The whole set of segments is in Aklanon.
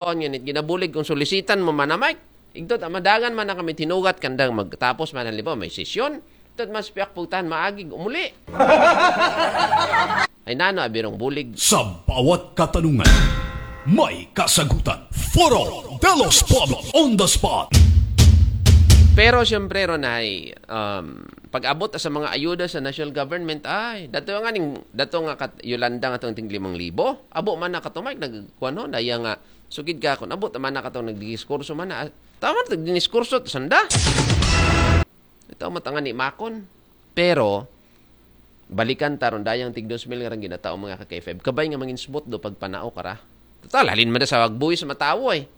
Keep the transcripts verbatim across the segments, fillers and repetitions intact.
Nga nit ginabulig kung solicitan mo man na, Mike. Igtot, madagan man na kami tinugat kandang magtapos man, halimbawa, may sesyon. Tot mas piyak pugtahan maagig, umuli. Ay nano, abirong bulig. Sa bawat katanungan, may kasagutan. Foro de los Pueblos on the spot. Pero siyempre, Ronay, um, pag-abot sa mga ayuda sa national government, ay, dato nga ning, dato nga kat, Yolanda nga tong ting limang libo, abo man na katumay, nagkuan ho, daya nga, sugid ka, kung abot man na katong nagdiskurso man na, ah, tama na, nagdiniskurso, sanda. Ito, matangan ni Makon. Pero, balikan taron dayang tig dos mil nga rang ginatao mga ka-K five. Kabay nga manginsbot do pagpanao kara. Total, halin man da sa agbuwis matawo eh.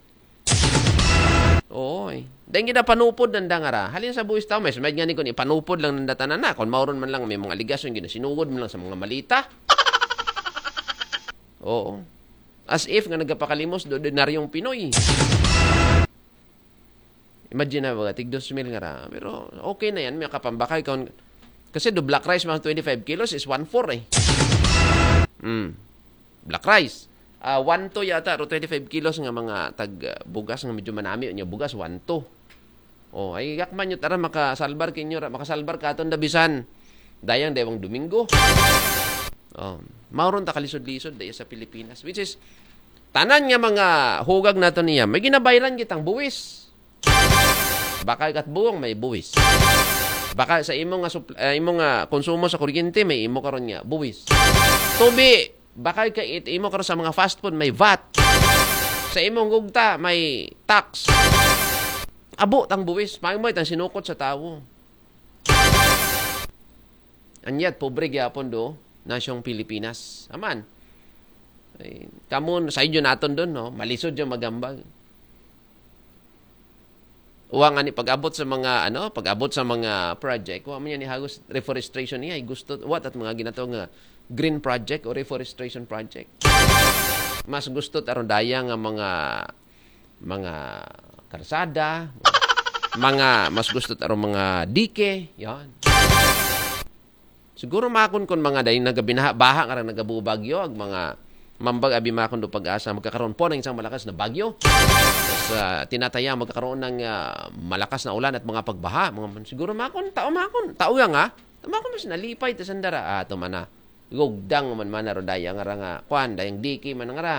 Oo eh. Dahil ginapanupod nanda nga ra. Halin sa buwis tao, may sumayad nga ni kung ipanupod lang nanda tanan na. Kung mauron man lang, may mga aligasyon, ginasinugod man lang sa mga malita. Oo. As if nga nagapakalimos do ordinaryong Pinoy. Imagine na baga, tig dos mil nga ra. Pero okay na yan, may kapambakay. Kasi do black rice, mga twenty-five kilos is one four eh. Mm. Black rice. Ah, one two yata, ro twenty-five kilos nga mga tag ah, bugas nga medyo manami niya bugas, one two. Oh, ay yakman nyo tara makasalbar kinyo ra, makasalbar katon da bisan dayang dewang Domingo. Oh, mauron ta kalisod-lisod daya sa Pilipinas, which is tanan nga mga hugag nato niya may ginabayran kitang buwis. Baka kat buwang may buwis. Baka sa imo nga supl- ah, imo nga konsumo sa kuryente may imo karon nga buwis. Tubi, baka ka it imo karon sa mga fast food may vat. Sa imong gugta may tax. Abo tang buwis, may mo itang sinukot sa tawo. And yet, pobre gyapon do, nasyong Pilipinas. Aman. Ay, kamo, sa inyo naton doon, no? Malisod yung magambag. Uwa nga ni pag-abot sa mga ano, pag-abot sa mga project, wa man yan ihagos reforestation niya, ay gusto wa tat mga ginato nga green project o reforestation project. Mas gusto taron daya nga mga mga karsada, mga mas gusto taron mga dike, yan. Siguro makon kon mga dahil nagabinaha baha nga nagabubagyo ag mga mambag abi makon do pag-asa magkakaroon po ng isang malakas na bagyo. Sa tinataya magkakaroon ng ah, malakas na ulan at mga pagbaha. Mga siguro makon tao makon tao yang ah. Tama ko mas nalipay ta sandara ah, tumana. Gugdang man man aro daya nga ra nga kwan dayang diki man nga ra.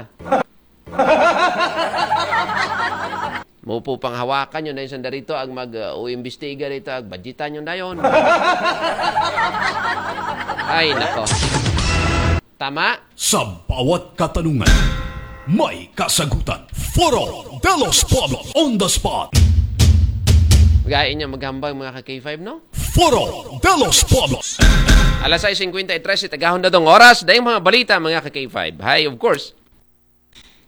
Mupo pang hawakan yun dahil sanda rito ag mag uh, imbestiga rito ag budgetan yun dayon. Ay nako. Tama? Sa bawat katanungan, may kasagutan. Foro de los Pueblos on the spot. Gain niya maghambang mga ka-K five, no? Foro de los Pueblos. Alas sais singkwenta y tres, itagahon datong oras. Dayong mga balita, mga ka-K five. Hi, of course.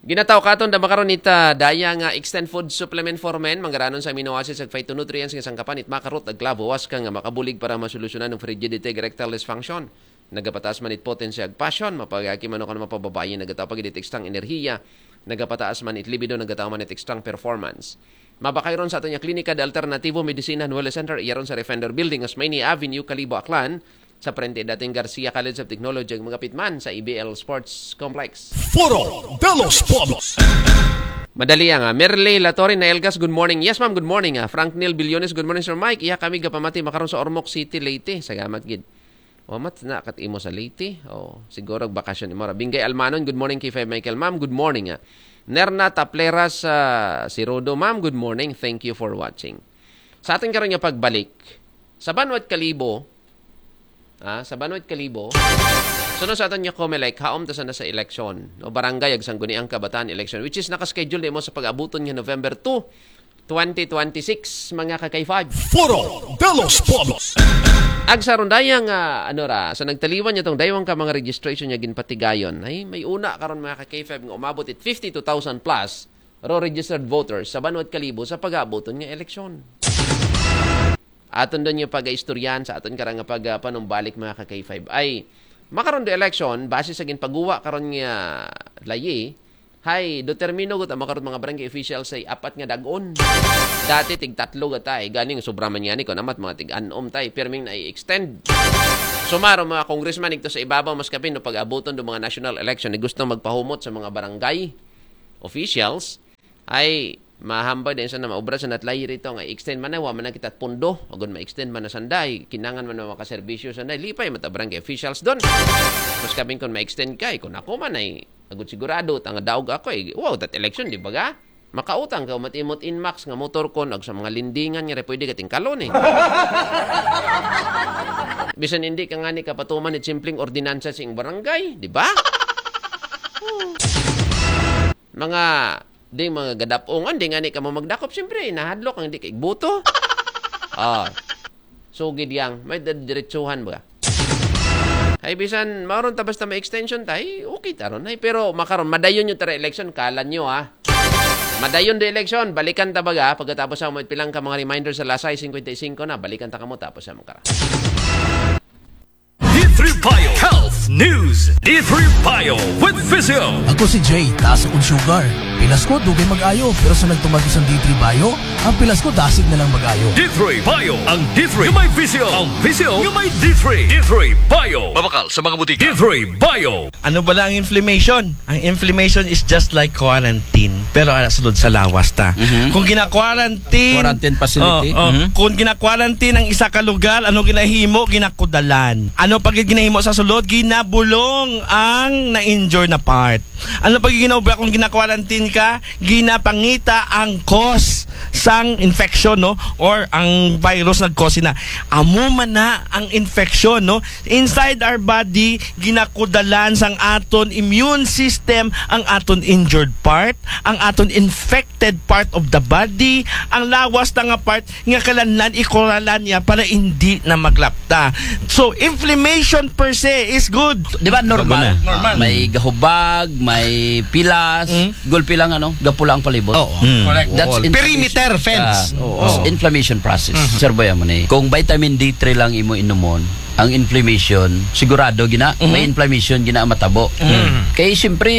Ginataw katon da makaron ita daya nga extend food supplement for men manggaranon sa amino acids ug phytonutrients nga sangkapan it makarot ag klabo was ka nga makabulig para masolusyonan ang frigidity ug erectile dysfunction. Nagapataas man it potency ag passion, mapagaki man o kan mapababayi nagataw pag it extra ang enerhiya. Nagapataas man it libido, nagataw man it extra ang performance. Mabakay ron sa aton nga klinika de Alternativo Medicina and Wellness Center, iya ron sa Refender Building, Osmeña Avenue, Kalibo, Aklan. Sa parente dating Garcia College of Technology ug mga pitman sa E B L Sports Complex. Foro de los Pueblos. Madali nga. Merle Latorre na Elgas, good morning. Yes, ma'am, good morning. Ah. Frank Neil Billones, good morning, Sir Mike. Iya kami gapamati makaron sa Ormoc City, Leyte. Salamat gid. Wamat na kat imo sa Leyte. Oh, siguro bakasyon imo ra. Bingay Almanon, good morning kay Five Michael. Ma'am, good morning. Ah. Nerna Tapleras, ah, si Rodo. Ma'am, good morning. Thank you for watching. Sa ating karon nga pagbalik, sa Banwat Kalibo, ah, sa Banwat Kalibo, sunod sa aton nga Comelec, haom ta sana sa eleksyon, no, barangay ag sangguniang kabataan election, which is nakaschedule nimo sa pag-abuton nga November two, twenty twenty-six, mga ka-K five. Foro de los Pueblos. Ag sa rundaya nga, ano ra, sa nagtaliwan niya tong daywang ka mga registration niya ginpatigayon, ay may una karon mga ka-K five nga umabot it fifty-two thousand plus ro registered voters sa Banwat Kalibo sa pag-aabuton nga eleksyon. Aton doon yung pag-istoryahan sa aton karang nga pag-, ah, panumbalik mga ka-K five. Ay, makaroon do election, base sa ginpaguwa karon nga layi, hay, determino gud ang makaroon mga barangay officials ay apat nga dagon. Dati tig tatlo gata eh. Ganing sobra man yan eh. Kung amat mga tig anom tay, pirming na i-extend. Sumaro mga congressman, igto sa ibabaw, mas kapin, no, pag-abuton do mga national election, ni gusto magpahumot sa mga barangay officials, Ay, mahambay din sa na maobra sa natlay rito nga extend man na, wa man na kita pundo, agud ma-extend man na sanday, kinangan man na makaserbisyo sanday, lipay mata barangay officials doon. Mas kabing kung ma-extend kay, kung ako man ay, agud sigurado, tanga daog ako eh, wow, that election, di ba ga? Makautang ka, matimot inmax nga motor ko, nag sa mga lendingan nga, pwede ka tingkalon eh. Bisan hindi ka nga ni kapatuman ni simpleng ordinansa sa iyong barangay, di ba? Mga di mga gadapongan, di nga ni ka mo magdakop, siyempre, nahadlok ang di kay buto. Ah. So, gid yang, may diretsuhan ba? Ay, bisan, maron ta basta may extension ta, ay, okay ta ron. Ay, pero makaron, madayon yung tara election, kalan nyo ah. Madayon di election, balikan ta baga, pagkatapos sa mo pilang ka mga reminder sa lasay fifty-five na, balikan ta kamo, tapos sa mga kara. D three Bio Health News. D three Bio with Physio. Ako si Jay, taas akong sugar. Pilas ko, dugay mag-ayo. Pero sa nagtumag isang D three Bio, ang pilas ko, dasig na lang mag-ayo. D three Bio. Ang D three nga may Physio. Ang Physio nga may D three. D three Bio. Mabakal sa mga butika. D three Bio. Ano ba lang inflammation? Ang inflammation is just like quarantine. Pero ala sulod sa lawas ta. Kung gina-quarantine, Quarantine facility. Oh, oh. Kung gina-quarantine ang isa ka lugar, ano ginahimo? Ginakudalan. Ano pag ginahimo sa sulod? Ginabulong ang na-injure na part. Ano pag ginobra kung gina-quarantine ka? Ginapangita ang cause sang infection, no? Or ang virus nag-cause na. Amo man na ang infection, no? Inside our body, ginakudalan sang aton immune system ang aton injured part, ang aton infected part of the body, ang lawas na nga part nga kailangan ikuralan niya para hindi na maglapta. So, inflammation per se is good. Di ba normal? Normal. May gahubag, may pilas, gulpi lang ano, gapula ang palibot. Oo. Mm. Correct. That's Wall. inflammation. Perimeter fence. Ah, oo. Inflammation process. Sir Boy, amo ni. Kung vitamin D three lang imo inumon, ang inflammation, sigurado gina, may inflammation gina matabo. Kay siyempre,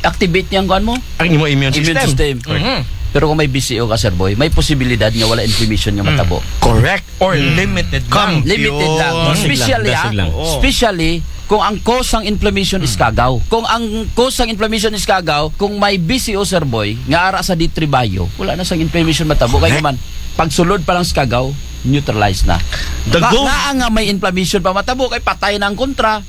activate niya ang kuan mo. Ang imo immune Immune system. system. Pero kung may B C O ka, Sir Boy, may posibilidad nga wala inflammation nga matabo. Correct. Or limited lang. Limited lang. Yun. Especially, Dasig lang. ah, especially kung ang cause ng inflammation is kagaw. Kung ang cause ng inflammation is kagaw, kung may B C O, Sir Boy, nga ara sa D three Bio, wala na sang inflammation matabo. Kaya naman, pagsulod pa lang sa kagaw, neutralize na. The Nga, goal- nga nga may inflammation pa matabo, kay patay na ang kontra.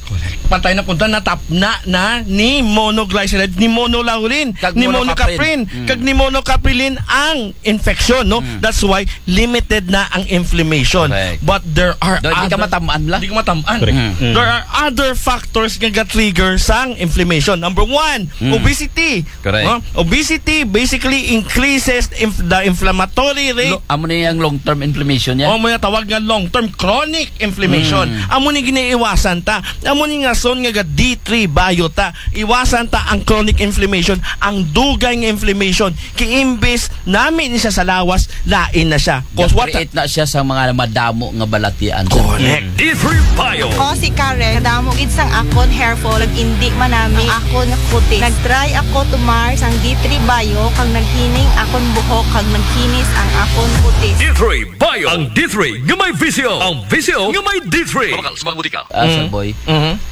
Patay na punta, natapna na ni monoglyceride, ni monolaurin, Kag ni monocaprin. monocaprin, kag ni monocaprilin ang infection, no? That's why limited na ang inflammation. Correct. But there are Do, di ka other matamaan lang. Di ka matamaan. Correct. There are other factors nga ga-trigger sang inflammation. Number one, obesity. Correct. No? Obesity basically increases inf- the inflammatory rate. Lo, amo na yung long-term inflammation niya. O mo tawag nga long-term chronic inflammation. Amo ni giniiwasan ta. Amo ni nga son nga ga D three Bio ta. Iwasan ta ang chronic inflammation, ang dugay nga inflammation. Kay imbis nami ni siya sa lawas, lain na siya. Cause what? Create na siya sa mga madamo nga balatian. Correct. D three Bio. Ako si Karen. Kadamo gid sang akon hair fall, nag-indi man nami ang akon kutis. Nag-try ako tumar sang D three Bio, kag naghining akon buhok, kag naghinis ang akon kutis. D three Bio. Ang D three nga may Physio. Ang Physio nga may D three. Mabakal sa mga butika. Ah, Sir Boy,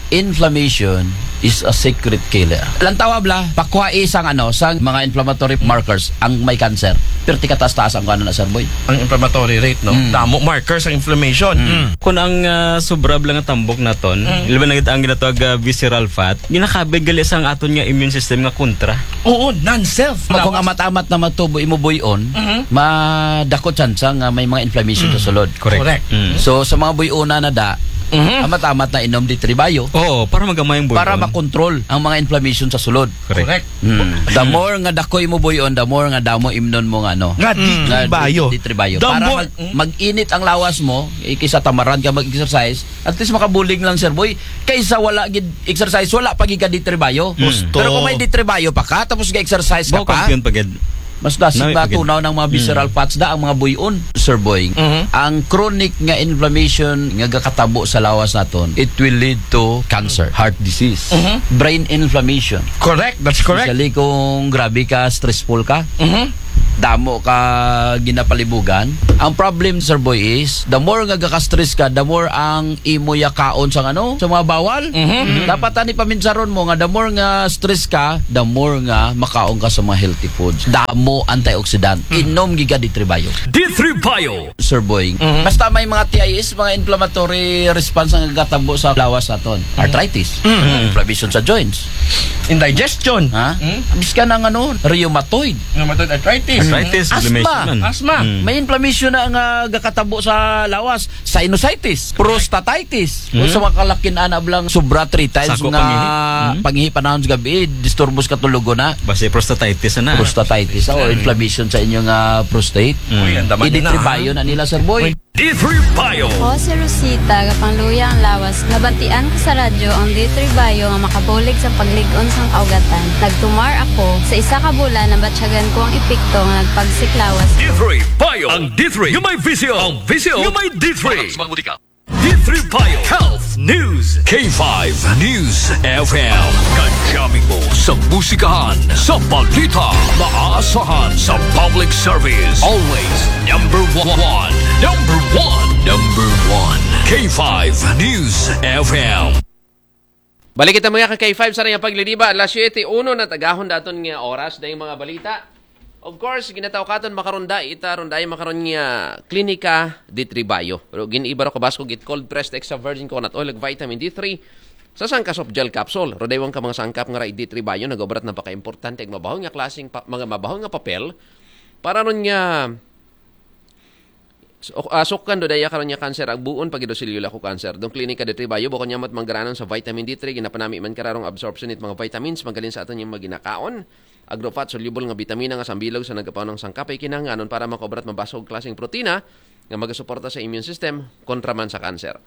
inflammation is a secret killer. Lantawa bla, pakuha isang ano, sang mga inflammatory markers ang may cancer. Pero tikataas-taas ang ano na, Sir Boy. Ang inflammatory rate, no? Mm. Damo markers ang inflammation. Kung ang ah, sobra lang nga tambok naton, labi na gid ang ginatawag ah, visceral fat, ginakabig gali sa ang aton nga immune system nga kontra. Oo, non-self. Kung amat-amat na matubo imo buyon, madako tsansa nga may mga inflammation sa sulod. Correct. So sa mga buyona na da, amat-amat na inom D three Bio. Oo, para magamay ang buyon. Para makontrol ang mga inflammation sa sulod. Correct. Mm. The more nga dako imo buyon, the more nga damo imnon mo nga ano. Nga D three Nga Bio. D three Bio. The Para more- mag, mag-init ang lawas mo, eh, kaysa tamaran ka mag-exercise, at least makabulig lang, Sir Boy. Kaysa wala gid exercise, wala pa gid ka D three Bio. Gusto. Pero kung may D three Bio pa ka, tapos ga-exercise ka Bao pa, kampiyon pa gid. mas dasig Nami na pa gid. Tunaw ng mga visceral fats da ang mga buyon, Sir Boy. Ang chronic nga inflammation nga gakatabo sa lawas naton, it will lead to cancer, heart disease, brain inflammation. Correct, that's correct. Especially kung grabe ka, stressful ka. Damo ka ginapalibugan. Ang problem, Sir Boy, is the more nga gaka-stress ka, the more ang imo yakaon sa ano, sa mga bawal. Mhm. Dapat ani paminsaron mo nga the more nga stress ka, the more nga makaon ka sa mga healthy foods. Damo antioxidant. Inom giga D three Bio. D three Bio. Sir Boy. Basta may mga T I S, mga inflammatory response ang gatabo sa lawas naton. Arthritis, inflammation sa joints. Indigestion. Ha? Miskan ang ano, rheumatoid. Rheumatoid arthritis. Arthritis, Asthma. inflammation. Asthma. Mm. May inflammation na nga gatabo sa lawas, sinusitis, prostatitis. O sa mga kalakin ana blang sobra three times Sako nga pangihi. Mm. pangihi panahon sa gabi, disturbo sa katulog na. Basi prostatitis na. Prostatitis o inflammation sa inyong ah, prostate. Uy, ang dama Idit na. Bayo na nila, Sir Boy. D three Bio. Ako si Rosita, gapangluya ang lawas. Nabatian ko sa radyo ang D three Bio nga makabulig sa paglig-on sang kaugatan. Nagtumar ako. Sa isa ka bulan, nabatyagan ko ang epekto nga nagpagsik lawas. D three Bio. Ang D three nga may visyo. Ang visyo nga may D three. D three Bio. Health News. K five News F M. Kadyamin mo sa musikahan, sa balita, maasahan sa public service. Always number one. Number one. Number one. K five News F M. Balik kita mga ka K five sa rayang pagliliba. Alas siyete uno na tagahon daton nga oras dayong mga balita. Of course, ginatawkaton makaron da ita ron dayong makaron nga klinika D three Bio. Pero giniiba ro kabaskog it cold pressed extra virgin coconut oil ug vitamin D three sa sangka soft gel capsule. Rodaywan ka mga sangkap nga ra D three Bio nagobrat napakaimportante ug mabahon nga klaseng pa, mga mabahon nga papel para ron nga So, ah, sukkan do daya karon nga kanser, agbuon pa gid do selula ko kanser. Dong klinika D three Bio, bukon niya mat manggaranon sa vitamin D three, ginapanami man kararong absorption it mga vitamins, magaling sa aton yung mga ginakaon. Agrofat, soluble nga bitamina nga sambilog sa nagapaunang sangkapay kinahanglanon para makobrat mabasog klaseng protina nga magasuporta sa immune system kontra man sa kanser.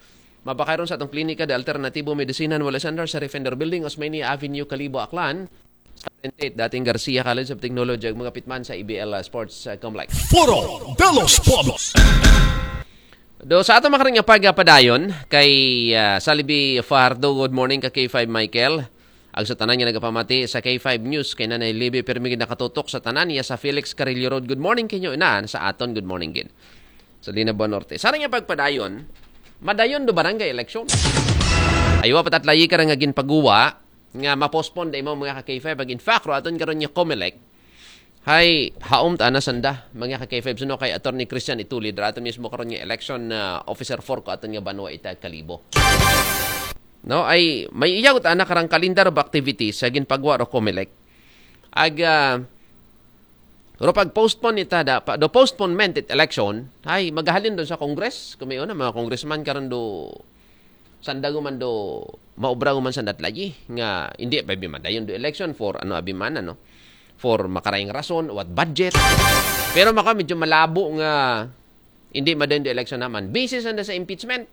Mapakayron sa atong klinika de Alternatibo Medicina Nuevo Center sa Refender Building, Osmeña Avenue, Kalibo, Aklan. Sa twenty-eight, dating Garcia College of Technology, ang mga pitman sa E B L uh, Sports uh, Complex. Foro de los Pueblos. Do sa ato makaring nga pagpadayon kay uh, Salibi Fajardo, good morning ka K five Michael. Ag sa tanan nga nagapamati sa K five News kay Nanay Libby, permi gid nakatutok sa tanan niya sa Felix Carrillo Road. Good morning kinyo inan sa aton. Good morning gid. Sa Linabuan Norte. Sa nga pagpadayon, madayon do barangay election. Aywa patatlayi ka nga ginpaguwa nga ma-postpone da imo mga ka K five. Ag in fact, ro aton karon nga Comelec, hay, haom ta na sanda, mga ka K five, suno kay Attorney Christian Itulid, ra aton mismo karon nga election na officer four ko aton nga banwa ita Kalibo. No, ay, may iyagot ana karang calendar of activities sa ginpagwa ro Comelec. Ag, ah, ro pag postpone ita da, pa, do postponement it election, ay, magahalin doon sa Congress, kung may una, mga congressman karon do, sanda guman do, maobra guman sanda tlayi, nga, hindi, abi man, dayon do election for, ano, abi man, ano, for makarayang rason, what budget. Pero maka medyo malabo nga, hindi madayon do election naman. Busy sanda sa impeachment.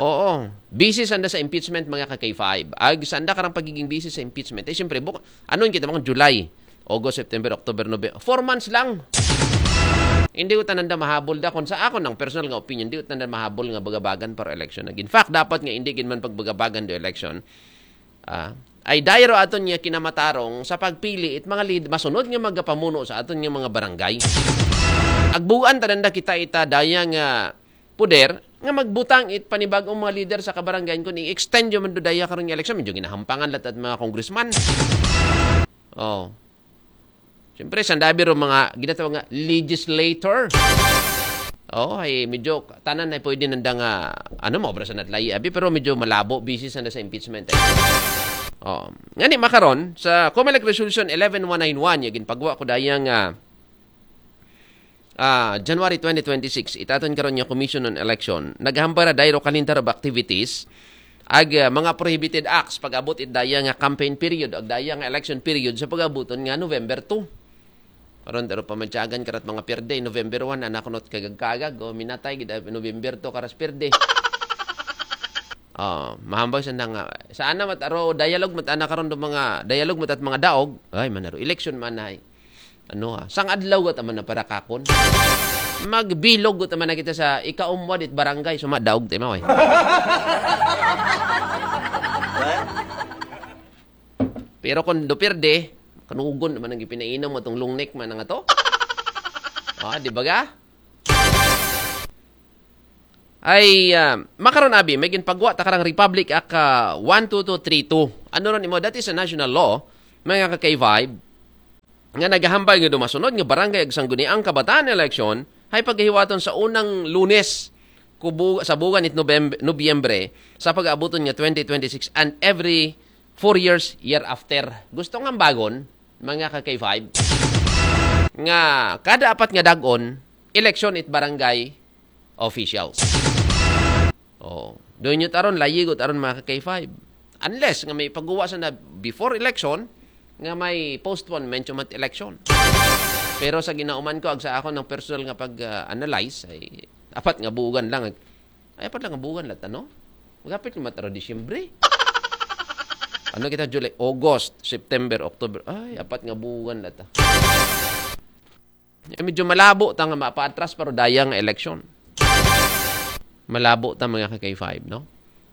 Oo. Busy sanda sa impeachment, mga ka K five. Ag sanda karang pagiging busy sa impeachment. Eh, siyempre, buk- ano yung kita mga July, August, September, October, November. Four months lang. Hindi ko tananda mahabol da. Kung sa ako ng personal nga opinion, hindi ko tananda mahabol nga bagabagan para election. In fact, dapat nga hindi gid man pagbagabagan do election. Ah, ay dayro aton nga kinamatarong sa pagpili it mga lead masunod nga magapamuno sa aton nga mga barangay. Agbuan tananda kita ita daya nga poder nga magbutang it panibagong mga leader sa kabarangay kun i-extend yung mandudaya karong election, medyo ginahampangan lahat at mga congressman. Oh. Siyempre, sandabi ro mga ginatawag nga legislator. Oh, ay medyo tanan ay pwede nanda nga ano mo obra sa natlayi abi pero medyo malabo busy sanda sa impeachment. Eh. Oh, ngani makaron sa Comelec Resolution eleven one nine one ya ginpagwa ko dayang uh, uh, January twenty twenty-six itaton karon nga Commission on Election naghambara dayro kalentar of activities ag uh, mga prohibited acts pag-abot it daya nga campaign period ag daya nga election period sa pag-abuton nga November two. Aron pero pamadyagan karat mga pirde, November one, anak not kagagkagag, o minatay gid November two karas pirde. Oh, mahambaw sa nga. Sa ana mat aro dialogue mat ana karon do mga dialogue mat at mga daog. Ay manaro election man ay. Ano ha? Sang adlaw gat man na para kakon. Magbilog gat man na kita sa ikaumwad it barangay suma daog ti mao eh. Pero kung do pirde, Kanugon naman ang ipinainom mo itong long neck man nga to. Ah, di ba ga? Ay, ah, makaron, abi, may ginpagwa ta karang Republic Act, ah, one two two three two. Ano ron imo? That is a national law, mga ka-K five, nga nagahambal nga dumasunod nga barangay ag sangguniang kabataan election ay pagahiwaton sa unang Lunes kubu-, sa buwan it Nobemb-, Nobyembre sa pag-aabuton nga twenty twenty-six and every four years year after. Gusto nga bagon, mga ka-K five, nga kada apat nga dagon, election it barangay officials. Oh, doon yun taron, layigot aron, mga ka-K five. Unless nga may pagguwa sa na before election, nga may postponement yung mat election. Pero sa ginauman ko, ag sa ako ng personal nga pag-analyze, ay apat nga buwan lang. Ay, apat lang nga buwan lata, no? Magapit naman taro Disyembre. Ano kita, July, August, September, October. Ay, apat nga buwan lata. Eh, medyo malabo ta nga mapaatras pero dayang election. Malabo ta, mga ka-K five, no?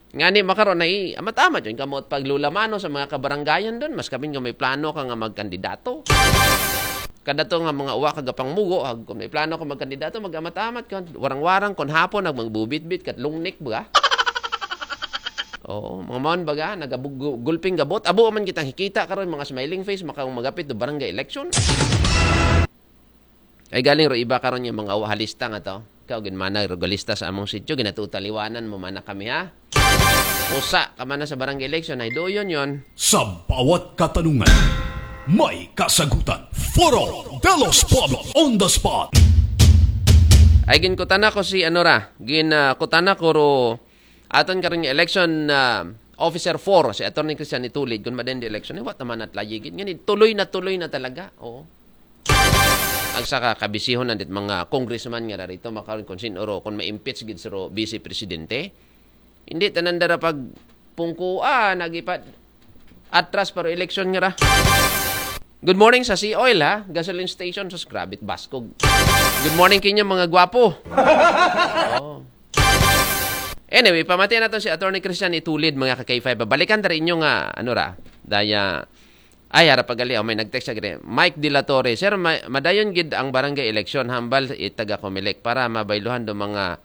Nga ni makaron na i-amat-amat yun kamot paglulamano sa mga kabarangayan doon. Mas kami nga may plano ka nga magkandidato. Kada to nga mga uwa ka gapang mugo, ag kung may plano ka magkandidato, mag-amat-amat ka. Warang-warang, kung hapon, nag magbubitbit, kat long neck, baga? Oo, mga maon, baga, nagabug-, gulping gabot. Abo man kitang hikita karon, mga smiling face, makang magapit do barangay election. Ay galing ro iba karon yung mga uwa halista nga to. Ikaw, ginmana, rogalista sa among sityo, ginatutaliwanan mo mana kami, ha? Usa ka mana sa barangay election, ay doon yun. Sa bawat katanungan, may kasagutan. Foro de los Pueblos on the spot. Ay, ginkutana ko si, ano ra, gin, ah, kutana ko ro, aton karon nga election, ah, officer four, si Attorney Christian Itulid, kung madend election, eh, what naman at layigin. Ngani, tuloy na tuloy na talaga. Oo. Ang sa kakabisihon nandit mga congressman nga rarito, makaroon kung sin oro, kung ma-impeach gid sa ro vice presidente. Hindi tanan dara pag pungkuan, nagipad atras para election nga ra. Good morning sa Sea Oil, ha? Gasoline station, sus, grabe, baskog. Good morning kinyo, mga gwapo. Oh. Anyway, pamatian nato si Attorney Christian Itulid, mga ka-K five. Babalikan ta rin inyo nga, ano ra, daya, ay, ara pagali, oh, may nag-text sa gini. Mike De La Torre, "Sir, ma- madayon gid ang barangay election, hambal itaga Comelec para mabayluhan do mga,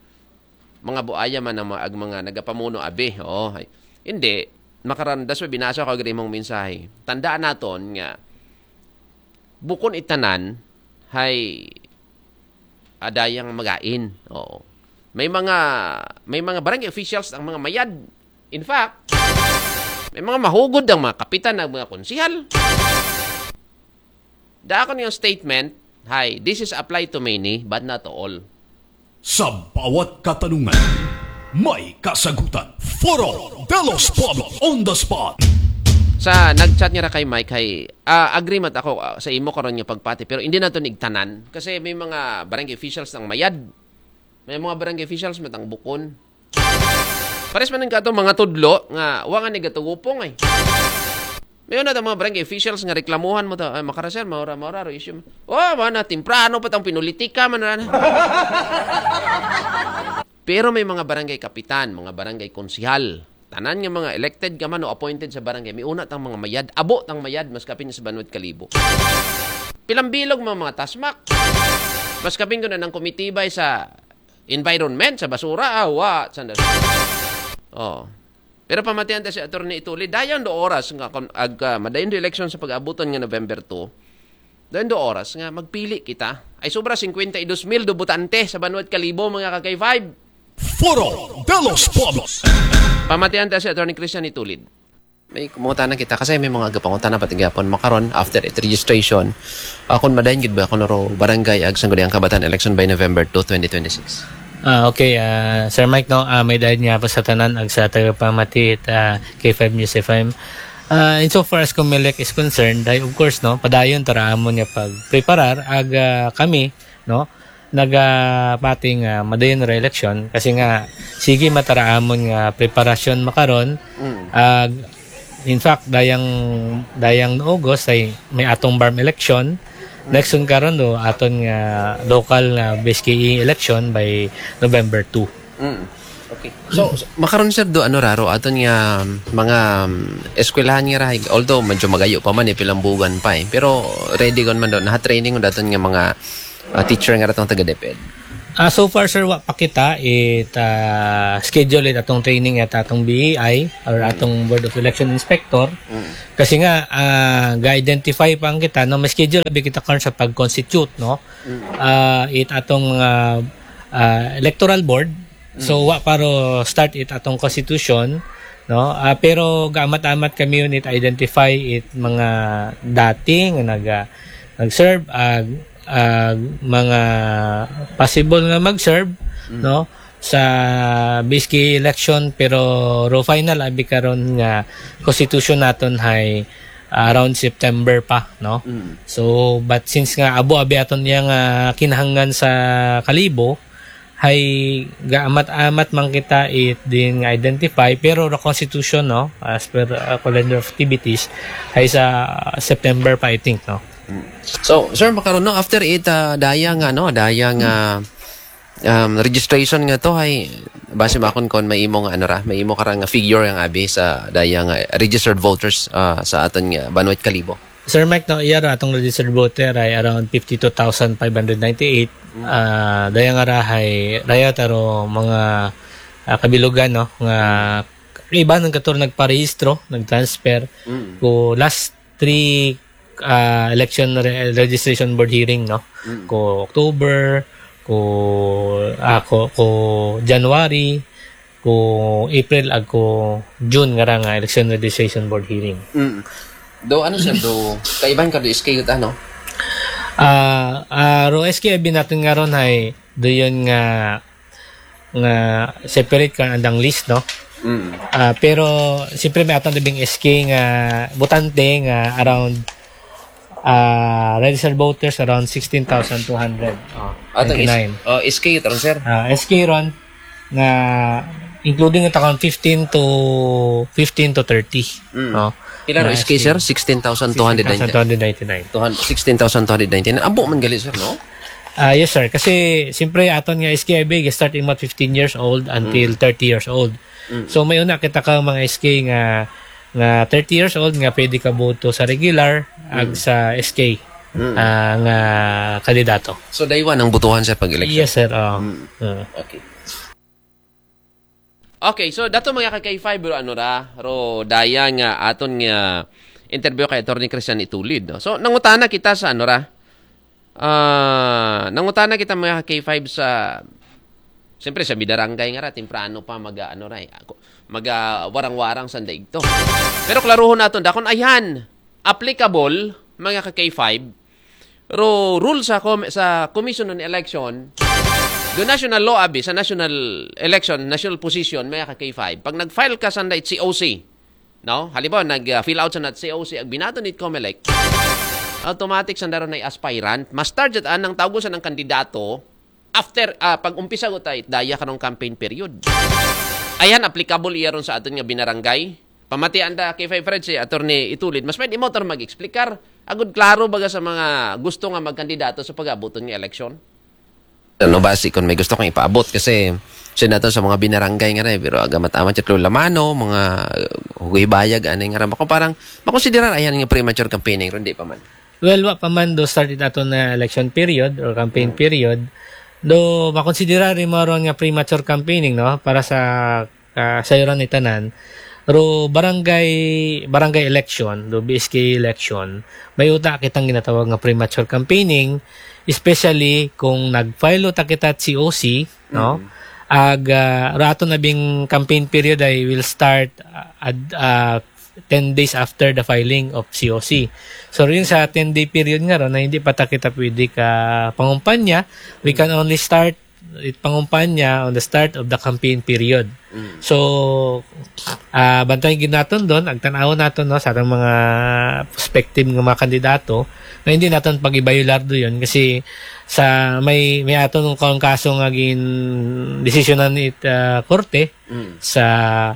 mga buaya man ang mga, ag mga nagapamuno, abi." Oo, ay. Hindi, makarandas pa binasa ko gini mong mensahe. Tandaan naton nga, bukon itanan, hay adayang magain. Oo. May mga, may mga barangay officials ang mga mayad. In fact, may mga mahugod ang mga kapitan, ang mga konsihal. Dako niyang statement, "Hi, this is apply to many, but not to all." Sa bawat katanungan, may kasagutan. Foro de los Pueblos on the spot. Sa nag-chat niya ra kay Mike, hay, ah, agree man ako, ah, sa imo karon nga pagpati, pero hindi nato nigtanan kasi may mga barangay officials ang mayad. May mga barangay officials matang bukon. Pares man ka to mga tudlo nga wa nga nigatugupong, eh. May una ta mga barangay officials nga reklamuhan mo ta, "Ay, makara, sir, maura, maura ro issue." Oh, mana, temprano pa tang pinulitika man ra na. Pero may mga barangay kapitan, mga barangay konsihal, tanan nga mga elected ka man o appointed sa barangay, may una tang mga mayad, abo tang mayad, mas kapin sa banwat kalibo. Pilang bilog mga, mga tasmak. Mas kapin ko na ng kumitibay sa environment, sa basura, ah, wa, sandal. Oh. Pero pamatian ta si Attorney Ituli, dayon do oras nga kon ag, ah, madayon do eleksyon sa pag-abuton nga November two. Dayon do oras nga magpili kita. Ay sobra fifty-two mil do botante sa banwat kalibo, mga ka-K five. Foro de los Pueblos. Pamatian ta si Attorney Christian Itulid. May kumutana kita kasi may mga gapangutana pati gapon makaron after it registration. Ah, kung madayon gid ba kuno ro barangay ag sangguniang kabataan election by November two, twenty twenty-six? Ah, okay, ah, Sir Mike, no, ah, may dayon nga po sa tanan ag sa tagapamati it, ah, K five News F M. Ah, insofar as Comelec is concerned, ay of course, no, padayon tara amon nga pagpreparar ag, ah, kami, no, nagapati nga madayon ra eleksyon kasi nga sige matara amon nga preparasyon makaron. Ag, in fact, dayang, dayang August ay may atong BARMM election. Next one karon do aton nga local nga B S K E election by November two. Mm. Okay. So, makaron, sir, do ano ra ro aton nga mga um, eskwelahan nga ra, although medyo magayo pa man eh, pilang bugan pa eh. Pero ready kon man do, naha-training do aton nga mga ah, teacher nga ra tong taga DepEd? Ah, so far, sir, wa pa kita it ah, schedule it atong training at atong B E I or atong Board of Election Inspector. Kasi nga ah, ga-identify pa ang kita, no, may schedule abi kita karon sa pag-constitute, no. Ah, it atong mga ah, electoral board. So wa pa ro start it atong constitution, no. Ah, pero gaamat-amat kami unit identify it mga dating nga nag ah, nag-serve, ah, ah, mga possible nga mag-serve, no, sa B S K election, pero ro final abi karon nga constitution naton hay around September pa, no. So but since nga abo abi aton yang ah, kinahanglan sa Kalibo, hay gaamat-amat man kita it din nga identify, pero the constitution, no, as per ah, calendar of activities, hay sa September pa, I think, no. So, sir, makaron, no, after it ah, daya nga, no, daya nga um, registration nga to, hay base makon kon may imo nga ano ra, may imo ka ra nga figure nga abi sa daya nga registered voters ah, sa aton nga banwa it Kalibo. Sir Mike, no, iya ra atong registered voter ay around fifty-two thousand five hundred ninety-eight. Ah, daya nga ra hay raya ta ro mga ah, kabilugan, no, nga iba nang katur nagparehistro, nag-transfer ko last three ah, election re- registration board hearing, no. Ko October, ko ako ko January, ko April, ag ko June nga ra nga election registration board hearing. Do ano, sir, do kaiban ka do S K gud, ano? Ah, ah, ro S K abi naton nga ron hay do yun nga nga separate kan andang list, no. Ah, pero siyempre may atong labing S K nga botante nga around ah, registered voters around sixteen thousand two hundred. Oh, Atong is, ninety-nine. Oh, S K ron, sir. Ah, S K ron nga including it around fifteen to fifteen to thirty. Oh. Pila ro S K, sir? Sixteen thousand two hundred ninety. Sixteen thousand two hundred ninety-nine. Sixteen thousand two hundred ninety-nine. Abo man gali, sir, no? Ah, yes, sir. Kasi siyempre aton nga S K abi start imong fifteen years old until thirty years old. So may una kita ka mga S K nga nga thirty years old nga pwede ka boto sa regular ag sa S K ah, nga kandidato. So, daywa nang botohan sa pag-election? Yes, sir. Oh. Ah. Okay. Okay, so dato mga ka K five, pero ano ra, ro daya nga aton nga interview kay Attorney Christian Itulid, no? So, nangutana kita sa ano ra, ah, nangutana kita mga ka K five sa, siyempre sa bidarangay nga ra, temprano pa mag ano ra, eh, ako, mag ah, warang-warang sa daigto. Pero klaruhon naton, dakon ayhan, applicable, mga ka K five, ro rule sa com- sa Commission on Election, do national law abi sa national election, national position, mga ka K five. Pag nag-file ka sa C O C, no? Halimbawa, nag-fill out sa nat C O C, ag binato ni Comelec, automatic sa daron ay aspirant. Mas target anang tawgo sa ng kandidato after, ah, pag umpisa ko tayo, daya karong campaign period. Ayan, applicable iya ron sa aton nga binarangay. Pamatian da kay Five Fred si Attorney Itulid. Mas pwede mo tor mag-explicar. Agud klaro baga sa mga gusto nga magkandidato sa pag-abuton nga eleksyon. Ano ba si kung may gusto kang ipaabot? Kasi siya nato sa mga binarangay nga na eh, pero agamat-amat yung lamano, mga huguhibayag, anay nga ra. Bako parang, makonsiderar ayan nga premature campaigning, ron di pa man. Well, wa pa man do start it ato na election period or campaign period. Do makonsidera rin mo ron nga premature campaigning, no, para sa ah, sayuran ni tanan. Ro barangay barangay election, do B S K election, may uta kitang ginatawag nga premature campaigning, especially kung nag-file uta kita C O C, no? Ag ah, ro aton abing campaign period ay will start ah, ad, ah, ten days after the filing of C O C. So rin sa ten day period nga ron na hindi pa ta kita pwede ka pangumpanya, we can only start it pangumpanya on the start of the campaign period. So ah bantayan gid naton don, agtan-awon naton, no, sa atong mga prospective nga mga kandidato na hindi naton pag-ibayular do yun kasi sa may may aton kung kaso nga gin desisyonan it ah, korte sa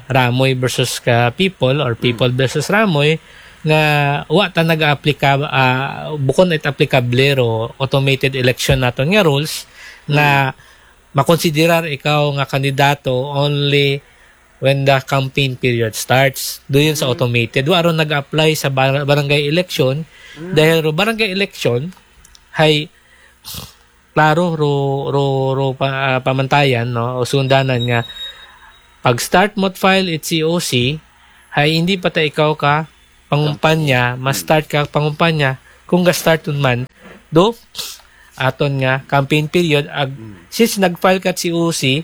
Ramoy versus ka People or People versus Ramoy nga wa ta nag-aplika ah, bukon it applicable ro automated election naton nga rules na makonsiderar ikaw nga kandidato only when the campaign period starts. Doon sa automated. Wa ron nag-apply sa bar- barangay election. Dahil ro barangay election, hay klaro ro, ro, ro pa, ah, pamantayan, no? O sundanan nga pag start mo file it C O C, hay hindi pa ta ikaw ka pangumpanya, ma-start ka pangumpanya kung ga-start man do aton nga campaign period. Ag, since nag-file ka C O C,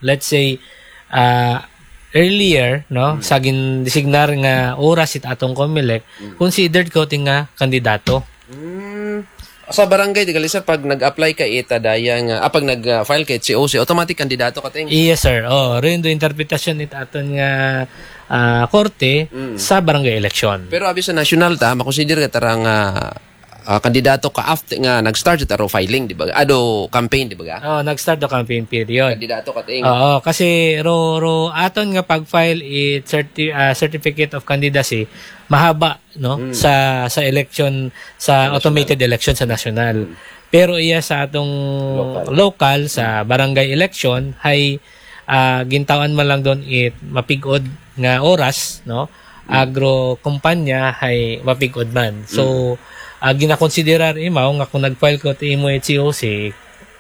let's say, ah, earlier, no, sa gindesignar nga oras it atong Comelec, considered ka ti nga kandidato. Mm. Sa barangay, di gali, sir, pag nag-apply ka ita daya nga, ah, pag nag-file ka it C O C, automatic kandidato ka ting. Yes, sir. Oh, rin do interpretasyon it aton nga, ah, korte sa barangay election. Pero abi sa national ta, makonsider ka tara nga, ah, kandidato ka after nga nag-start ta ro filing, di ba? Ado campaign, di ba ga? Oh, nag-start the campaign period. Kandidato ka ting. Oo, kasi ro, ro aton nga pag-file it certi- ah, certificate of candidacy, mahaba, no, sa sa election, sa automated election sa national. Pero iya sa atong local, sa barangay election, hay, ah, gintawan man lang doon it mapigod nga oras, no? Agro kumpanya hay mapigod man. So, ah, ginakonsiderar imaw nga kung nag-file ko ti imo it C O C,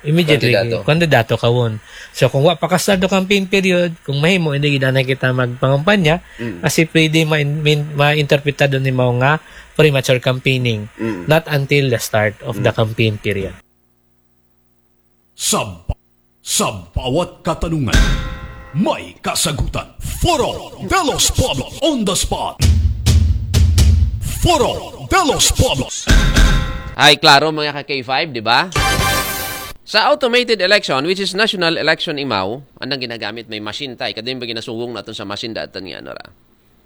immediately Kandidato. Kandidato ka won. So, kung wa pa ka start do campaign period, kung mahimo, hindi gid anay kita magpangampanya, kasi pwede ma- min- ma-interpretado nimo nga premature campaigning, not until the start of the campaign period. Sa, ba- sa bawat katanungan, may kasagutan. Foro de los Pueblos on the spot. Foro de los Pueblos. Ay, klaro, mga ka K five, di ba? Sa automated election, which is national election imaw, anang ginagamit, may machine tay. Kadin ba ginasugong naton sa machine datan nga, ano ra?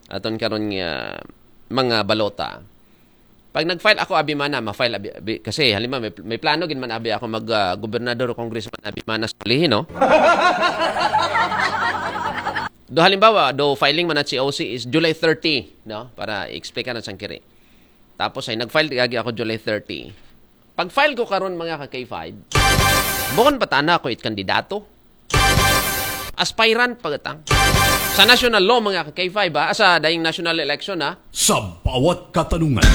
Aton karon nga mga balota. Pag nag-file ako, abi mana, ma-file, abi, abi, kasi halimbawa, may, may plano gid man abi ako mag, ah, gobernador o congressman, abi mana sa ulihin, no? Do halimbawa, do filing man at C O C is July thirty, no? Para i-explain ka na sang kiri. Tapos ay nag-file gagi ako July thirty. Pag-file ko karon, mga ka K five, bukon patana ko it kandidato. Aspirant pagatang. Sa national law, mga ka K five, ha? Sa daying national election, ha? Sa bawat katanungan,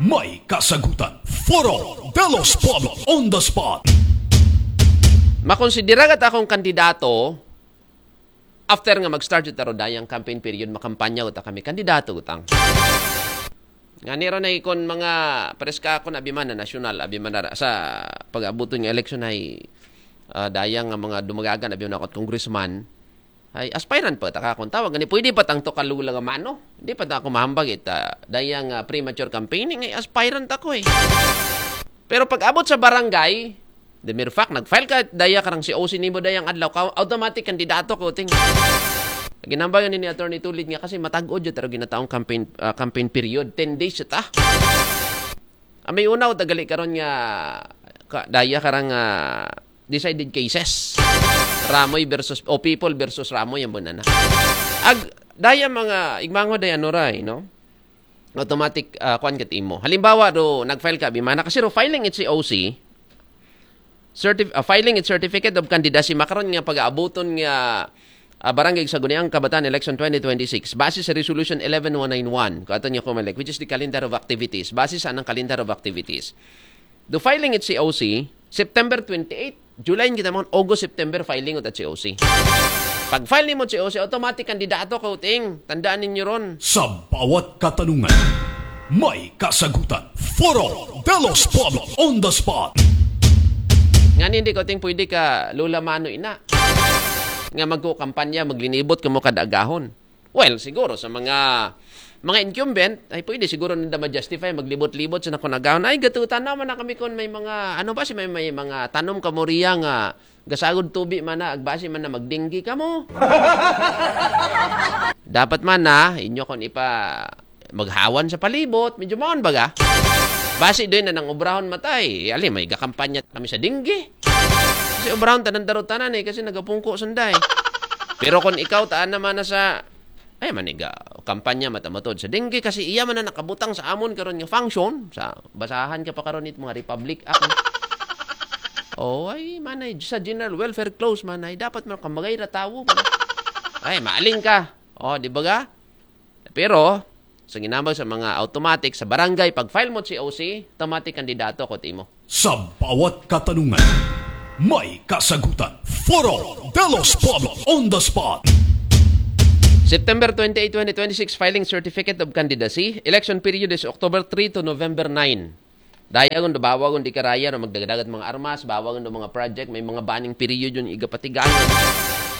may kasagutan. Foro de los Pueblos on the spot. Makonsidera gat akong kandidato after nga mag-start it aro dayang campaign period, makampanya uta kami kandidato utang. Nga nira na ikon mga preska ako na abimana nasyonal, abimana ra- sa pag-abuton nga election ay, ah, dayang nga mga dumagagan, abimana ako at congressman, ay aspirant pa ta akong tawag. Ani, pwede pa tang to kalula nga mano? Di pa ta ako mahambag ita dayang, ah, premature campaigning, ay aspirant ako eh. Pero pag abot sa barangay, the mere fact, nag-file ka, daya karang C O C nimo dayang adlaw ka, automatic kandidato ko ting. Ginambayan ni Attorney Tulid nga kasi matag-od jud taro ginataong campaign, ah, campaign period, ten days ta. Ah, may unaw tagali karon nga ka, daya karang, ah, decided cases. Ramoy versus, o People versus Ramoy ang bunana. Ag daya mga igmango daya nuray, no? Automatic, ah, kwan kat imo. Halimbawa do nag-file ka bimana kasi ro filing it C O C, certif- ah, filing it certificate of candidacy makaron nga pag-aabuton nga, ah, barangay sa Guniang Kabataan Election twenty twenty-six base sa Resolution eleven one nine one, kato niya Comelec, which is the calendar of activities. Base sa anang calendar of activities. Do filing it C O C, September twenty-eight, July kita mo, August, September filing ut at C O C. Pag file nimo C O C, automatic kandidato ka uting. Tandaan ninyo ron. Sa bawat katanungan, may kasagutan. Foro de los Pueblos on the spot. Nga hindi ko ting pwede ka lula mano ina. Nga magkukampanya, maglinibot ka mo kada agahon. Well, siguro sa mga mga incumbent, ay pwede siguro nanda ma-justify maglibot-libot sa nakunagaon. Ay, gatutan naman na kami kung may mga, ano ba, si may, may mga tanom ka mo riya nga gasagod tubi man na, agbasi man na magdinggi ka mo. Dapat man na, inyo kung ipa maghawan sa palibot, medyo maon baga. Basi doon na nang obrahon matay. Ali, may gakampanya kami sa dinggi. Kasi obrahon tanan darutanan eh, kasi nagapungko sunday. Pero kung ikaw, taan naman na sa ay, maniga, kampanya matamatod sa dinggi kasi iya man na nakabutang sa amon karon nga function, sa basahan ka pa karon it mga Republic Act. Oh, ay, manay, sa general welfare clause, manay, dapat man ka magay ra tawo, man. Ay, maaling ka. Oh, di ba ga? Pero, sa ginambag sa mga automatic, sa barangay, pag-file mo C O C, automatic kandidato ko timo. Sa bawat katanungan, may kasagutan. Foro de los Pueblos on the spot. September twenty-eight, twenty twenty-six, filing certificate of candidacy. Election period is October three to November nine. Daya gun, bawa gun di karaya no magdagdagat mga armas, bawa gun do mga project, may mga banning period yun igapatigayon.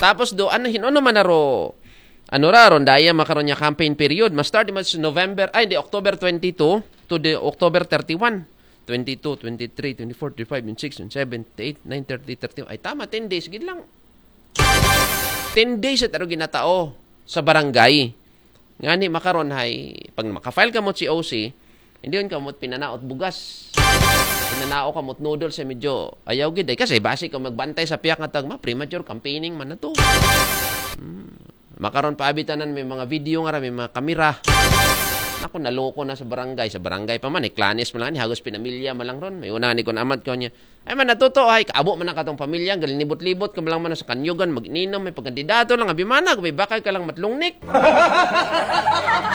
Tapos do, ano, hin-, ano man aro, ano ra, ron daya makaron niya campaign period, ma-start mas November, ay, hindi, October twenty-two to the October thirty-one. Twenty-two, twenty-three, twenty-four, twenty-five, twenty-six, twenty-seven, twenty-eight, nine, thirty, thirty. Ay, tama, ten days, gid lang. Ten days at aro ginatao sa barangay. Ngani makaron hay, pag maka-file ka mo C O C, hindi yun ka mo pinanaot bugas. Pinanao ka mo noodles sa medyo ayaw gid ay. Kasi basi ka magbantay sa piyak nga tagma, premature campaigning man na to. Hmm. Makaron pa abitanan may mga video nga ra, may mga kamera. Ako, naloko na sa barangay. Sa barangay pa man, iklanis man lang, hagos pinamilya man lang ron. May una ni kun amat ko niya. Ay man, natuto, ay, kaabo man na katong pamilya, galinibot-libot ka man lang man sa kanyugan, mag-ininom, may pagkandidato lang, abi man na, may bakal ka lang matlungnik.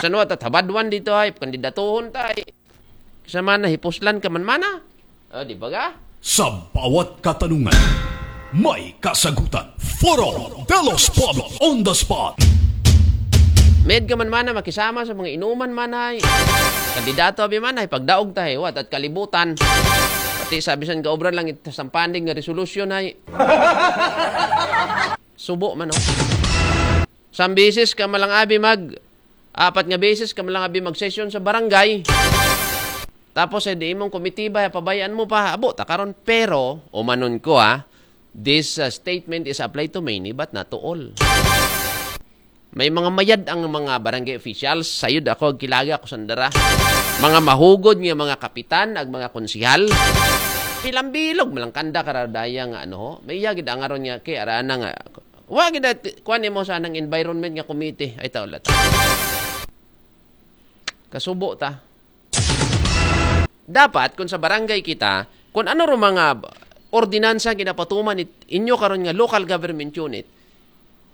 Sa nuwa, tatabadwan dito, ay, pagkandidatuhon ta, ay. Sa man na, hipuslan ka man mana. O, di ba ga? Sa bawat katanungan, may kasagutan. Foro de los Pueblos on the spot. Med ka man mana, makisama sa mga inuman man ay. Kandidato, abi man ay, pagdaog ta, ay, wat, at kalibutan. Pati sa bisan ka obra lang, it-, sampanding nga resolusyon ay. Subo man, oh. Sambisis ka malang abi mag, apat nga beses ka malang abi mag-session sa barangay. Tapos, eh, di imong komitiba, eh, pabayaan mo pa. Abo, ta karon, pero, umanon ko, ha, this, uh, statement is applied to many, but not to all. May mga mayad ang mga barangay officials. Sayod ako, agkilaga ako sandara. Mga mahugod nga mga kapitan, ag mga konsihal. Pilambilog, malangkanda, karadaya nga, ano, ho. May iya gid ang aron nga, kay arana nga, wa gid at, kuwan mo sa nang environment nga committee. Ay, tao lata. Kasubo ta. Dapat, kung sa barangay kita, kung ano ro mga ordinansa ginapatuman it-, inyo karon nga local government unit,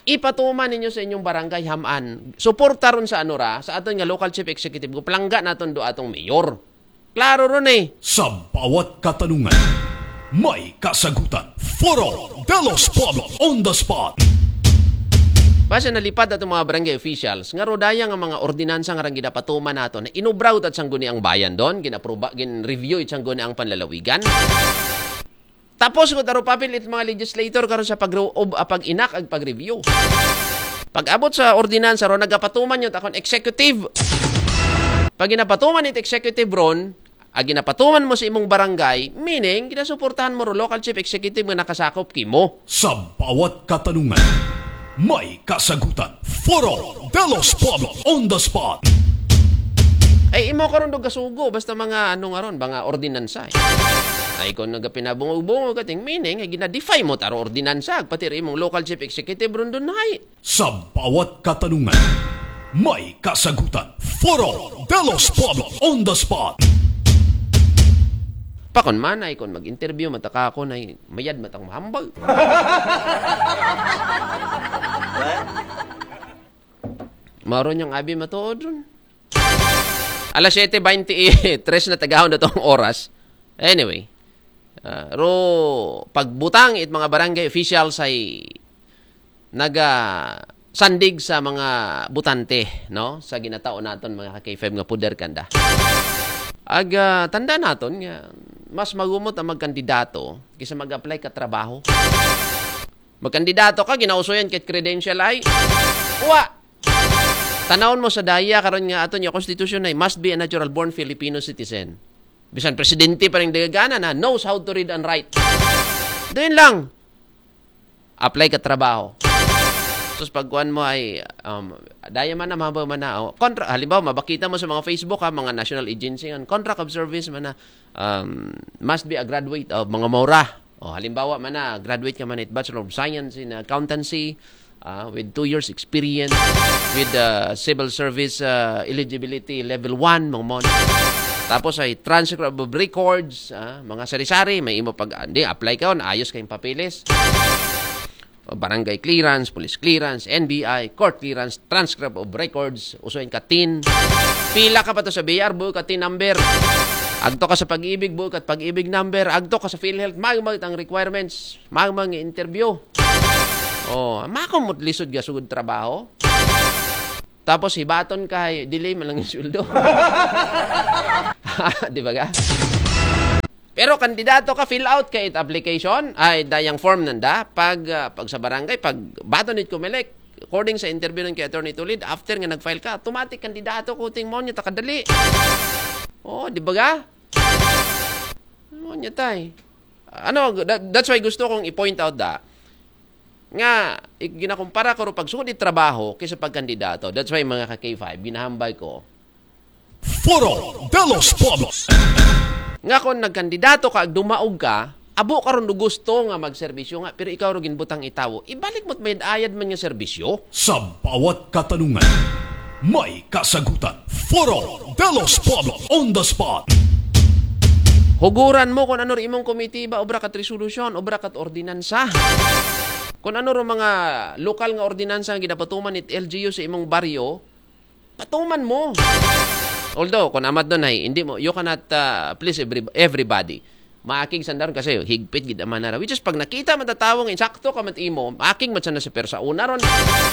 ipatuman ninyo sa inyong barangay haman. Suporta ron sa ano ra, sa aton nga local chief executive, go palangga naton do atong mayor. Klaro ron eh. Sa bawat katanungan, may kasagutan. Foro de los Pueblos on the spot. Basta nalipad atong mga barangay officials, nga rodaya nga mga ordinansa nga rang ginapatuman nato, na inubraw at sangguni ang bayan doon, ginaproba, gin-review it sangguni ang panlalawigan. Tapos ko taro papel it mga legislator karon sa pag-, ob-, ah, pag-inak ag pag-review. Pag-abot sa ordinansa ron, nagapatuman yun, takon executive. Pag ginapatuman it executive ron, ag ginapatuman mo sa imong barangay, meaning, ginasuportahan mo ro local chief executive nga nakasakop kimo. Sa bawat katanungan, may kasagutan. Foro de los Pueblos on the spot. Ay, imo karon do gasugo, basta mga ano nga ron, mga ordinansa, eh. Ay, kung nagapinabungog-bungog kating meaning, ay ginadefy mo taro ordinansa, pati rin imong local chief executive ron dun, hay. Sa bawat katanungan, may kasagutan. Foro de los Pueblos on the spot. Pakon man ay, kung mag-interview, mataka ako na, mayad matang mahambal. Maro niyang abi matuod ron. Alas siyete beintitres na tagahon na tong oras. Anyway, ah, ro, pagbutang it mga barangay officials ay naga sandig sa mga butante, no? Sa ginatao naton, mga ka-K five, nga puder kanda. Ag, ah, tanda naton nga mas magumot ang magkandidato kaysa mag-apply ka trabaho. Magkandidato ka, ginausoyan kit credential ay. Wa! Tanawon mo sa daya karon nga aton nga konstitusyon ay must be a natural born Filipino citizen. Bisan presidente pa rin dagana na knows how to read and write. Doon lang. Apply ka trabaho. Sus, pagkuan mo ay, um, daya man na, mahaba man na. Oh, kontra, halimbawa, mabakita mo sa mga Facebook, ha, mga national agency, ang contract of service man na, um, must be a graduate of mga maura. Oh, halimbawa man na, graduate ka man it Bachelor of Science in Accountancy, ah, with two years experience, with, uh, civil service, uh, eligibility level one, mga mo. Tapos ay transcript of records, ah, mga sari-sari, may imo pag, hindi, apply ka, ayos kayong papeles. O, barangay clearance, police clearance, N B I, court clearance, transcript of records, usuin ka tin. Pila ka pa to sa B R, buo ka tin number. Agto ka sa pag-ibig, buo ka pag-ibig number. Agto ka sa PhilHealth, magmag ang requirements, magmag interview. Oh, makamot lisod ka sugod trabaho. Tapos hibaton ka, delay man lang yung sweldo. Di ba ka? Pero kandidato ka, fill out ka it application, ay dayang form nanda, pag, ah, pag sa barangay, pag baton it Comelec, according sa interview ng kay Attorney Tulid, after nga nag-file ka, automatic kandidato ko, ting mo niya, takadali. Oh, di ba ka? Mo niya, tay. Ano, that, that's why gusto kong i-point out da, nga, i-, ginakumpara ko ro pag sugod it trabaho kaysa pagkandidato. That's why, mga ka-K five, ginahambal ko. Foro de los Pueblos. Nga kung nagkandidato ka, ag dumaog ka, abo ka ron do gusto nga magserbisyo nga, pero ikaw ro ginbutang itawo, ibalik mo't may ayad man nga serbisyo. Sa bawat katanungan, may kasagutan. Foro de los Pueblos on the spot. Huguran mo kung ano ro imong komitiba, obra kat resolusyon, obra kat ordinansa. Kung ano ro mga lokal nga ordinansa nga ginapatuman it L G U sa imong baryo, patuman mo. Although, kung amat doon ay, hindi mo, you cannot, uh, please every, everybody. Maakig sandaron kasi higpit gid ang manara. Which is, pag nakita man ta tawo nga insakto ka man imo, maakig man sana sa persa una ron.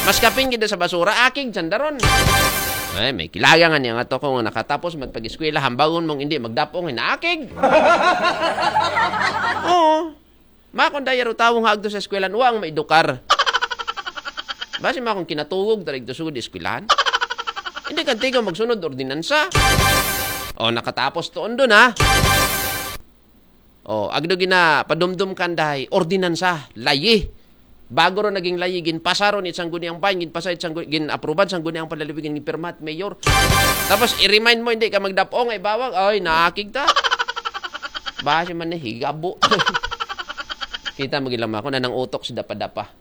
Mas kapin gid sa basura, akig sandaron. Ay, may kilaga nga niya nga to kung nakatapos magpag-eskwela, hambagon mong hindi magdapong, hinaakig. Oo. Makon daya ro tawo nga agto sa eskwelahan, wa ang maedukar. Basi makon kinatugog, tarig to sugod eskwelahan. Hindi kantigo magsunod ordinansa. O, nakatapos to, undo na. O, agdo gina, padumdum kandahay, ordinansa, layi. Bago ro naging layi, ginpasa ro ni Sangguniang Bayan, ginpasa it Sanggu-, gin-approve it Sangguniang Panlalawigan, ginpirma it mayor. Tapos, i-remind mo, hindi ka magdapong, ay bawag, ay, nakig ta. Basi man ni higabo. Kita mo gid lang, makon anang utok sa dapa-dapa.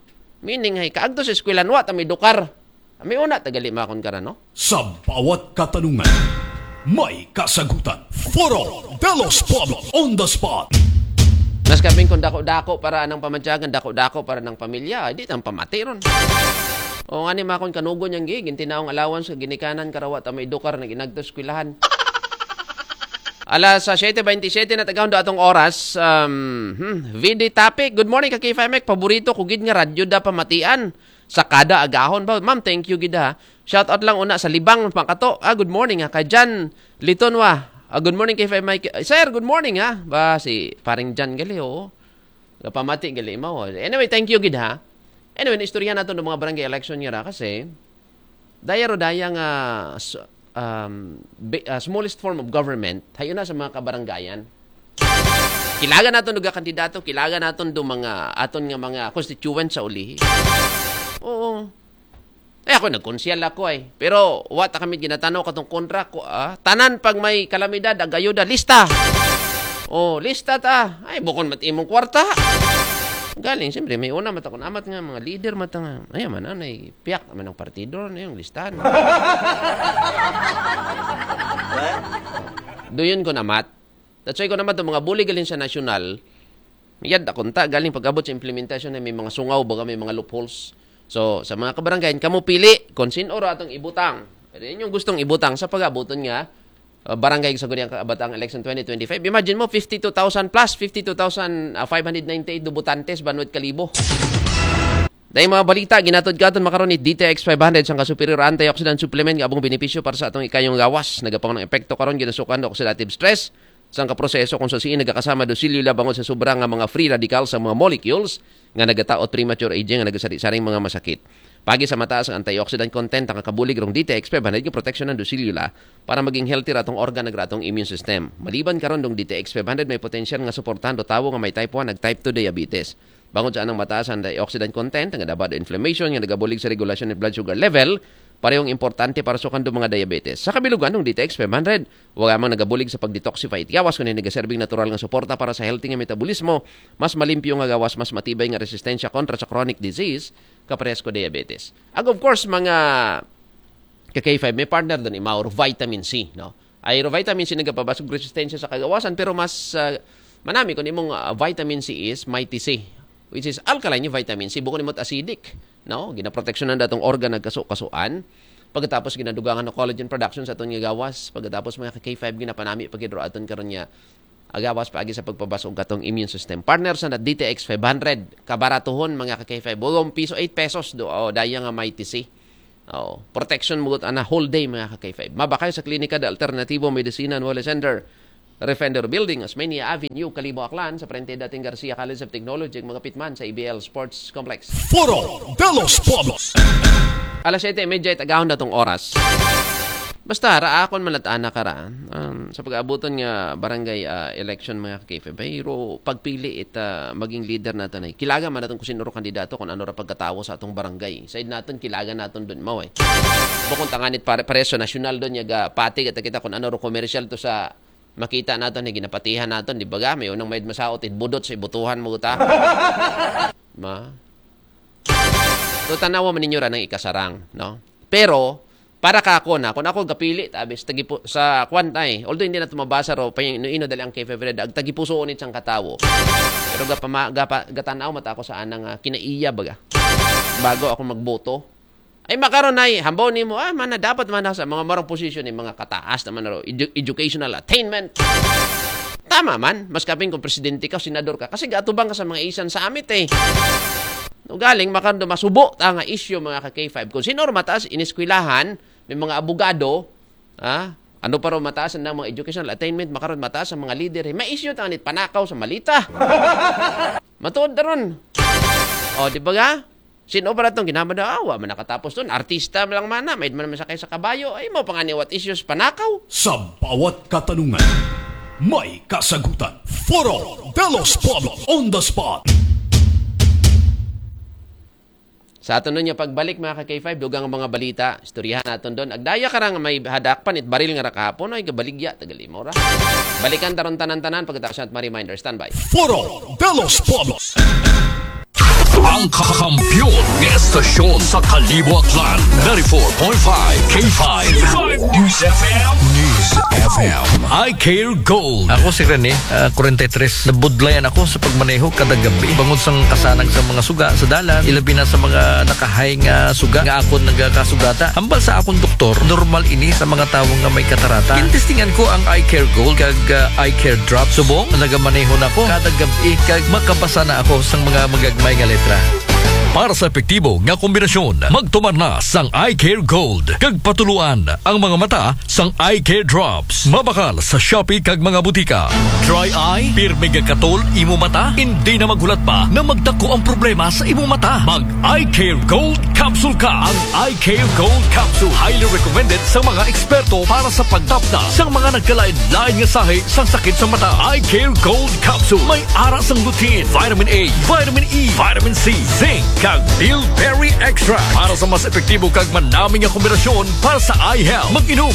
Meaning, ay, kaagto sa eskwelahan, wa ta may dukar. May una, tagali makon ka ra, no? Sa bawat katanungan, may kasagutan. Foro de los Pueblos on the spot. Mas kapin kung dako-dako para anang pamadyagan, dako-dako para ng pamilya, ay, di tang pamati ron. O nga ni makon kanugon yang gig, tinaong allowance, ginikanan, karawa, ta may dukar, nag-inagto sa eskwelahan. Alas, ah, siyete baynte siyete na tagahon do atong oras. Um, hmm, V D Topic, good morning, ka K five Mike. Paborito ko gid nga radyo da pamatian sa kada agahon ba. Ma'am, thank you gid ha. Shout out lang una sa Libang, Makato. Ah, good morning ha. Kay Jan Litonwa. Ah, good morning, K five Mike. Eh, sir, good morning ha. Ba, si paring Jan gali, oo. Pamati gali mo. Anyway, thank you gid ha. Anyway, naistorya nato ng mga barangay election niya ra kasi daya ro daya nga s-, um, bi-, ah, smallest form of government, hayo na sa mga kabarangayan. Kilaga naton do kandidato, kilaga naton do mga aton nga mga constituent sa ulihi. Oo. Eh, ako, nagkonsehal ako ay. Pero wa ta kami ginatanaw katong kontra ko, ah. Tanan pag may kalamidad, agayuda, lista. Oh, lista ta. Ay, bukon mat imong kwarta. Galing, siyempre, may una mata kun amat nga mga leader mata nga. Ay, man, anay, piyak naman ang partido, ano yung listahan. Duyon ko namat. That's why ko naman itong mga bulig galing sa nasyonal, yad akong ta, galing pag-abot sa implementasyon na may mga sungaw, baga may mga loopholes. So, sa mga kabarangay, kamo pili kung sino ro atong ibutang. Pero inyong gustong ibutang sa pag-abuton nga, uh, barangay sa Guniang Kabataan Election twenty twenty-five. Imagine mo, fifty-two thousand plus, fifty-two thousand five hundred ninety-eight do botantes, banwit kalibo. Dahil mga balita, ginatod ka aton makaron ni D T X five hundred, sang ka-superior antioxidant supplement nga abong benepisyo para sa atong ikayong gawas. Nagapangon ang epekto karon, ginasukan do oxidative stress. Sang kaproseso kung sa siin nagakasama do selula bangod sa sobra nga mga free radical sa mga molecules nga nagataot premature aging nga nagasari-saring mga masakit. Pagi sa mataas ang antioxidant content, ang kakabulig rong D T X five hundred nga proteksyon ng do selula para maging healthy ratong organ ng ratong immune system. Maliban karon dong D T X five hundred, may potensyal nga suportahan do tawo nga may type one nag type two diabetes. Bangod sa anang mataas ang antioxidant content, nga dabado inflammation, nga nagabulig sa regulasyon ng blood sugar level, parehong importante para sukan do mga diabetes. Sa kabilugan ng D T X five hundred, wala mang nagabulig sa pag-detoxify it gawas, kundi nagaserbing natural nga suporta para sa healthy nga metabolismo, mas malimpyo nga gawas, mas matibay nga resistensya kontra sa chronic disease, kapares ko diabetes. Ag of course, mga ka K five, may partner doon, imaw ro, vitamin C, no? Ay ro vitamin C nagapabasog resistensya sa kagawasan, pero mas ah, manami kon imong ah, vitamin C is Mighty C, which is alkaline yung vitamin C, bukon imo't acidic, no? Ginaproteksyonan datong organ nagkaso-kasuan. Pagkatapos ginadugangan ng collagen production sa aton nga gawas. Pagkatapos mga ka-K five ginapanami pag hidro aton karon niya agawas paagi sa pagpabasog katong immune system. Partner sa na D T X five hundred, kabaratuhon mga ka-K five. Bulong piso, eight pesos do. O, daya nga Mighty C. Oh, protection mo ana whole day mga ka-K five. Mabakay sa Klinika de Alternativo Medicina Nuevo Center, Refender Building, Osmeña Avenue, Kalibo, Aklan, sa frente dating Garcia College of Technology, mga pitman sa A B L Sports Complex. Foro de los Pueblos. Alas siyete y media, itagahon na tong oras. Basta, raakon man at ana ka ra, um, sa pag-aabuton nga barangay ah, election mga ka-K five, pero pagpili ita maging leader natin ay kilaga man natin kung sino ro kandidato, kung ano ra pagkatawo sa atong barangay. Said natin, kilaga natin doon mo eh. Bukon tanganit pare, pareso nasyonal doon, yaga pati kita kita kung ano ro komersyal to sa makita natin, na ginapatihan natin, di ba ga? May unang may masaot, budot sa ibutuhan mo ta. Ma? So, tanawa man ninyo ra ng ikasarang, no? Pero, para ka ako na, kung ako gapili, tabi, sa, tagipu, sa kwan tay, although hindi na ito mabasa ro, pa ino-ino dali ang K five Red, ag tagipuso unit sang katawo. Pero gapama, gapa, gatanaw mata ako sa anang ah, kinaiya baga. Bago ako magboto. Ay makaron ay, hambaw nimo, ah, mana dapat man sa mga marang posisyon ni mga kataas naman ro, edu- educational attainment. Tama man, mas kaping kung presidente ka, senador ka, kasi gatubang ka sa mga isan sa amit eh. No, galing, makando masubo ta nga issue mga ka-K five. Kung sino ro mataas iniskwelahan, may mga abogado, ha? Ano pa ro mataas ang mga educational attainment, makaron mataas ang mga leader, eh. May issue tanganit panakaw sa malita. Matuod na ron. O, di ba ga? Sino pa na itong ginamada? Ah, wa man nakatapos doon. Artista lang mana. May man sakay sa kabayo. Ay, mo pangani what issues panakaw. Sa bawat katanungan, may kasagutan. Foro de los Pueblos on the spot. Sa aton nun niya pagbalik, mga ka-K five, dugang ang mga balita, istoryahan naton doon. Agdaya ka rang may hadakpan, it baril nga ra kahapon, ay gabaligya, tagal imo ra. Balikan taron tanan-tanan, pagkatapos natin ma-reminder, standby. Foro de los Pueblos. Ang kakampiyon ng estasyon sa Kalibo Aklan, ninety-four point five K five News F M. News F M. I Care Gold. Ako si Rene, ah, forty-three. Nabudlayan ako sa pagmaneho kada gabi. Bangod sang kasanag sa mga suga sa dalan, ilabi na sa mga nakahay nga suga nga akon nagakasugata. Hambal sa akong doktor, normal ini sa mga tawo nga may katarata. Gintestingan ko ang Eye Care Gold kag, ah, Eye Care Drop. Subong, nagamaneho na ko kada gabi kag makabasa na ako sang mga magagmay nga letra. Para sa epektibo nga kombinasyon, magtumar na sang Eye Care Gold kag patuluan ang mga mata sang Eye Care Drops. Mabakal sa Shopee kag mga butika. Dry eye, pirmi gakatol imo mata, hindi na maghulat pa na magdako ang problema sa imo mata. Mag Eye Care Gold Capsule ka. Ang Eye Care Gold Capsule, highly recommended sa mga eksperto para sa pagtapna sa mga nagkalain-lain nga sahi sa sakit sa mata. Eye Care Gold Capsule, may ara sang lutein, vitamin A, vitamin E, vitamin C, zinc, kag bilberry extract para sa mas epektibo kag manami nga kombinasyon para sa eye health. Mag-inom